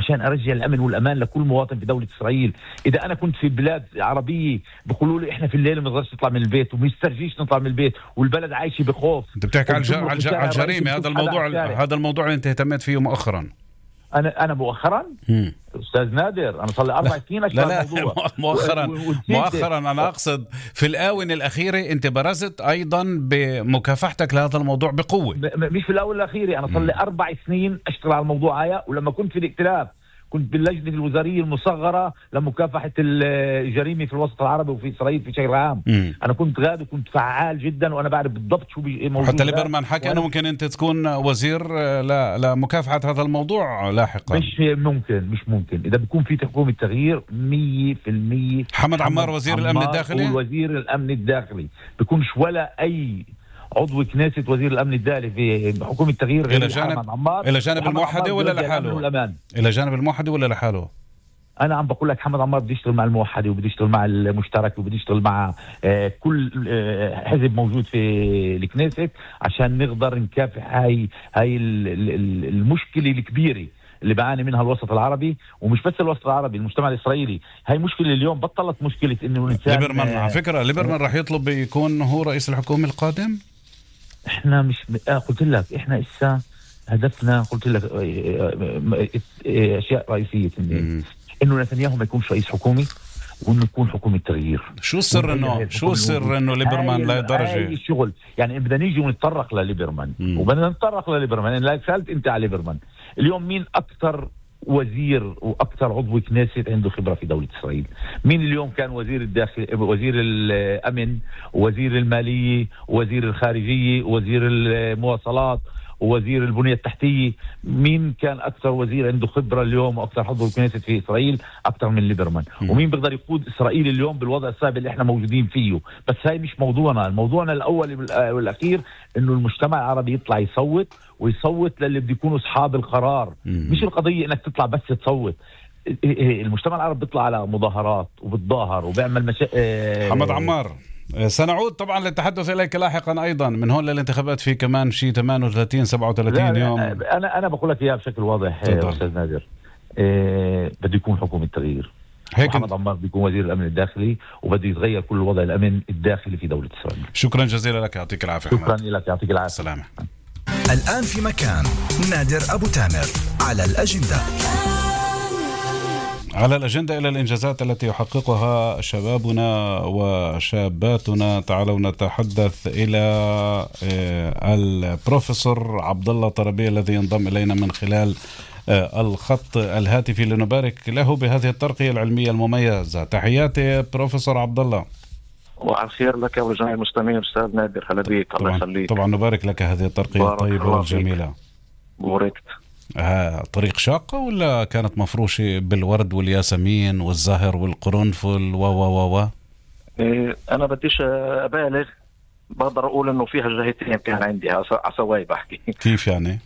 عشان ارجع الامن والامان لكل مواطن في دوله اسرائيل. اذا انا كنت في بلاد عربيه بيقولوا لي احنا في الليل ما نقدرش نطلع من البيت وما يسترجيش نطلع من البيت والبلد عايشه بخوف. انت بتحكي على الجريمه، هذا الموضوع اللي انت اهتميت فيه مؤخرا. انا مؤخرا استاذ نادر انا صار لي 4 سنين اشتغل الموضوع. مؤخرا انا اقصد في الاونه الاخيره انت برزت ايضا بمكافحتك لهذا الموضوع بقوه. مش في الاونه الاخيره، انا صار لي 4 سنين اشتغل على الموضوع هذا. ولما كنت في الائتلاف كنت باللجنه الوزاريه المصغره لمكافحه الجريمه في الوسط العربي وفي اسرائيل في شكل عام. انا كنت غاد وكنت فعال جدا وانا بعرف بالضبط شو موجود. حتى ليبرمان حكى انه ممكن انت تكون وزير لمكافحه هذا الموضوع لاحقا. مش ممكن اذا بيكون في حكومه تغيير 100%. حمد عمار وزير الامن الداخلي، وزير الامن الداخلي بيكونش ولا اي عضو كنيسة وزير الأمن الداخلي في حكومة التغيير إلى جانب الموحدة ولا لحاله؟ إلى جانب الموحدة ولا لحاله؟ أنا عم بقول لك حمد عمار بده يشتغل مع الموحدة وبده يشتغل مع المشترك وبده يشتغل مع كل حزب موجود في الكنيسة عشان نقدر نكافح هاي المشكلة الكبيرة اللي بعاني منها الوسط العربي، ومش بس الوسط العربي، المجتمع الإسرائيلي. هاي مشكلة اليوم بطلت مشكلة إنه الإنسان. ليبرمان على فكرة ليبرمان راح يطلب يكون هو رئيس الحكومة القادم. احنا مش قلت لك احنا إسا هدفنا، قلت لك اشياء رئيسيه انه نتنياهو ما يكونش رئيس حكومي وانه يكون حكومه تغيير. شو السر انه ليبرمان لا درجه الشغل؟ يعني بدنا نيجي ونتطرق لليبرمان وبدنا نتطرق لليبرمان. لا سالت انت على ليبرمان اليوم مين اكثر وزير واكثر عضو كنيسة عنده خبره في دوله اسرائيل؟ مين اليوم كان وزير الداخل، وزير الامن، وزير الماليه، وزير الخارجيه، وزير المواصلات، ووزير البنيه التحتيه؟ مين كان اكثر وزير عنده خبره اليوم واكثر عضو كنيسة في اسرائيل اكثر من ليبرمان؟ ومين بيقدر يقود اسرائيل اليوم بالوضع الصعب اللي احنا موجودين فيه؟ بس هاي مش موضوعنا. موضوعنا الاول والاخير انه المجتمع العربي يطلع يصوت للي بده يكونوا اصحاب القرار. مش القضيه انك تطلع بس تصوت. المجتمع العربي بيطلع على مظاهرات وبتظاهر وبيعمل حمد عمار، سنعود طبعا للتحدث إليك لاحقا أيضا من هون للانتخابات في كمان شيء 38-37 يوم. أنا بقول لك إياها بشكل واضح أستاذ نادر. بده يكون حكومة تغيير. محمد عمار بده يكون وزير الأمن الداخلي وبده يتغير كل وضع الأمن الداخلي في دولة إسرائيل. شكرا جزيلا لك، يعطيك العافية. شكرا لك، يعطيك العافية. السلامة. الآن في مكان نادر أبو تامر على الأجندة. على الأجندة إلى الإنجازات التي يحققها شبابنا وشاباتنا. تعالوا نتحدث إلى البروفيسور عبد الله طربيه الذي ينضم إلينا من خلال الخط الهاتفي لنبارك له بهذه الترقية العلمية المميزة. تحياتي بروفيسور عبد الله. وعلى خير لك ولجميع المستمعين أستاذ نادر. هلا بيك، الله يخليك. طبعا نبارك لك هذه الترقية الطيبة والجميلة. بوركت. طريق شاقة ولا كانت مفروشة بالورد والياسمين والزهر والقرنفل و أنا بديش أبالغ، بقدر أقول إنه فيها جهتين كان عندي عسواي بحكي. كيف يعني؟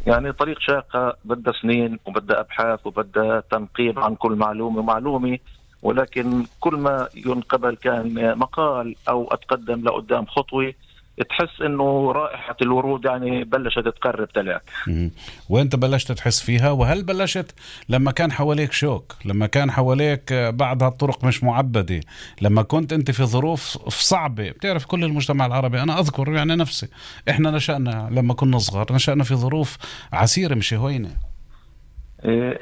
يعني طريق شاقة بدها سنين وبدها أبحاث وبدها تنقيب عن كل معلومة، ولكن كل ما ينقبل كان مقال أو أتقدم لقدام خطوة تحس انه رائحة الورود يعني بلشت تقرب تلاك. وانت بلشت تحس فيها؟ وهل بلشت لما كان حواليك شوك، لما كان حواليك بعض هالطرق مش معبدة، لما كنت انت في ظروف صعبة؟ بتعرف كل المجتمع العربي، انا اذكر يعني نفسي، احنا نشأنا لما كنا صغار نشأنا في ظروف عسيرة مش هوينة.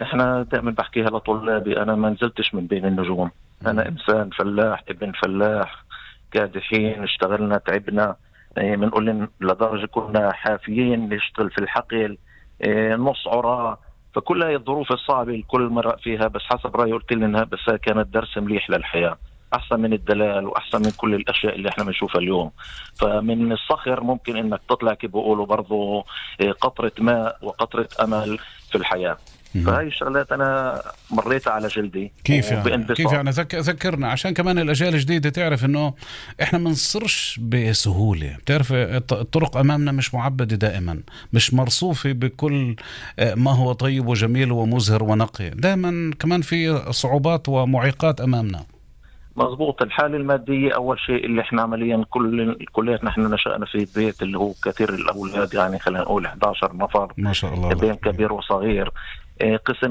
احنا دائما بحكيها لطلابي، انا ما نزلتش من بين النجوم، انا انسان فلاح ابن فلاح كادحين، اشتغلنا تعبنا، بنقول لدرجة كنا حافيين نشتغل في الحقل، نص عراء. فكل هاي الظروف الصعبة الكل مرق فيها، بس حسب رأيي قلت لنا بس كانت درس مليح للحياة، أحسن من الدلال وأحسن من كل الأشياء اللي احنا بنشوفها اليوم. فمن الصخر ممكن إنك تطلع كيف بيقولوا برضو قطرة ماء وقطرة أمل في الحياة. فهاي الشغلات أنا مريتها على جلدي. كيف يعني ذكرنا عشان كمان الأجيال الجديدة تعرف إنه إحنا منصرش بسهولة. بتعرف الطرق أمامنا مش معبدة دائما، مش مرصوفة بكل ما هو طيب وجميل ومزهر ونقي، دائما كمان في صعوبات ومعيقات أمامنا. مضبوط. الحالة المادية أول شيء اللي إحنا عمليا كلياتنا إحنا نشأنا في بيت اللي هو كثير الأولاد، يعني خلينا نقول 11 نفر ما شاء الله، بين كبير وصغير. قسم